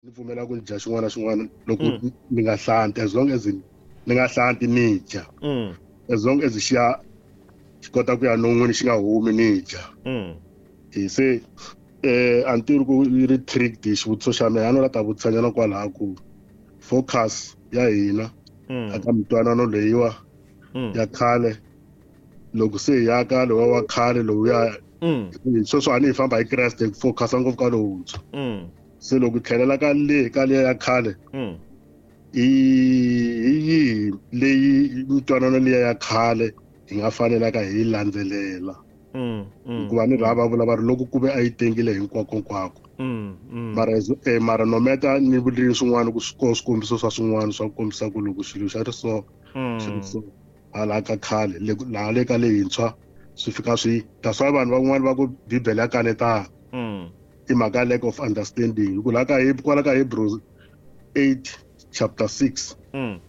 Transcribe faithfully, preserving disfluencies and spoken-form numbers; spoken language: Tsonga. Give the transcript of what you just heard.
Ni pfumela ku dya xin'wana na xin'wana loko ni nga hlanti, as long as ni nga hlanti ni dya. Mm. As long as xi ya xi kota ku ya non'wini xi nga humi ni dya. Mm. Hi se eh a ni tivi ku yi ri trick xivutiso xa mina a no la ta vutisanyana kwalaha ku focus ya hina Mm. aka mintwanano leyiwa Mm. ya khale loko se hi ya ka lowa wa khale lowuya Mm. sweswi a ni hi famba hi Kreste hi focus-a ngopfu ka lowuntshwa. Mm. Se loko hi tlhelela ka le ka liya ya khale Mm. hi hi yihi leyi mintwanano liya ya khale hi nga fanelaka hi yi landzelela. Mm. Mm. Hikuva ni rha va vula va ri loko ku ve a yi tengile hinkwako hinkwako. Mm. Mm. Mara as eh, mara no matter ni vuli swin'wana ku swi swikombiso swa swin'wana swa ku kombisa ku loko xilo xa ri so xi ri Mm. so hala ka khale le laha le ka leyintshwa swi fika swi that's why vanhu van'wani va ku bibele ya kanetana. Mm. I mhaka lack of understanding hi ku laha ka kwala ka Hebrews eight chapter six Mm.